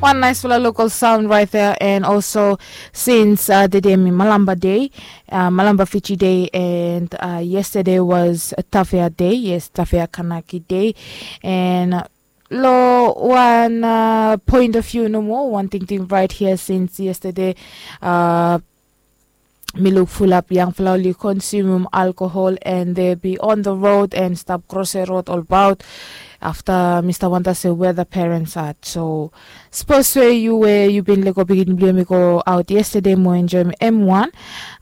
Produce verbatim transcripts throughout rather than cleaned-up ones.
One nice fala local sound right there, and also since uh, the day mi Malamba Day, uh, Malamba Fiji Day, and uh, yesterday was Tafea Day. Yes, Tafea Kanaki Day, and uh, lo one uh, point of view no more. One thing, thing right here since yesterday. Uh, Mi luk fulap yangfala oli konsumum alkohol and they be on the road and stap krose rod olbaot. Afta mi stap wanda se wea the parents at. So sapos we yu we yu bin lego pikin blong yumi go aot yestede mo enjoim em wan.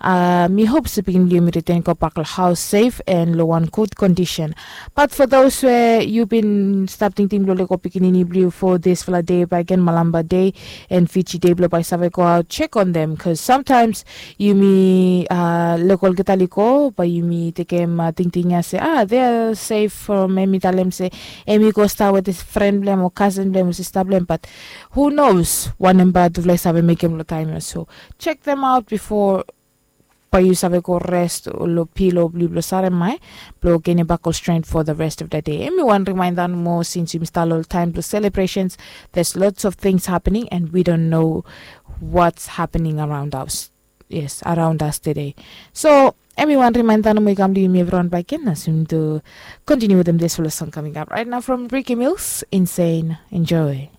Uh, mi hop se pikin blong yumi riten go bak lo haos sef and lo wan gud kondisen. But for those we yu bin stap tingting blong lego pikinini blong yu for disfala de bagen Malamba de and Fiji de blong bai save go aot check on them, cause sometimes yumi uh, lego olgeta ligo bai yumi tekem uh, tingting ya se ah, they are safe from em i talem se em i go stap wetem fren blong em o kasen blong em o sista blong em, but who knows wanem bai tufala i save mekem long taem ya. So check them out before bai yu save go rest lo pilo blong yu blong sarem mae blong genem bak ol strength for the rest of the day. Em i wan reminder nomo since yumi stap lo taem blong celebrations, there's lots of things happening and we don't know what's happening around us. Yes, around us today. So em i wan reminder nomo i kam long yumi evriwan baken as yumi tu continue wetem this fala song coming up right now from Ricky Mills, Insane. Enjoy.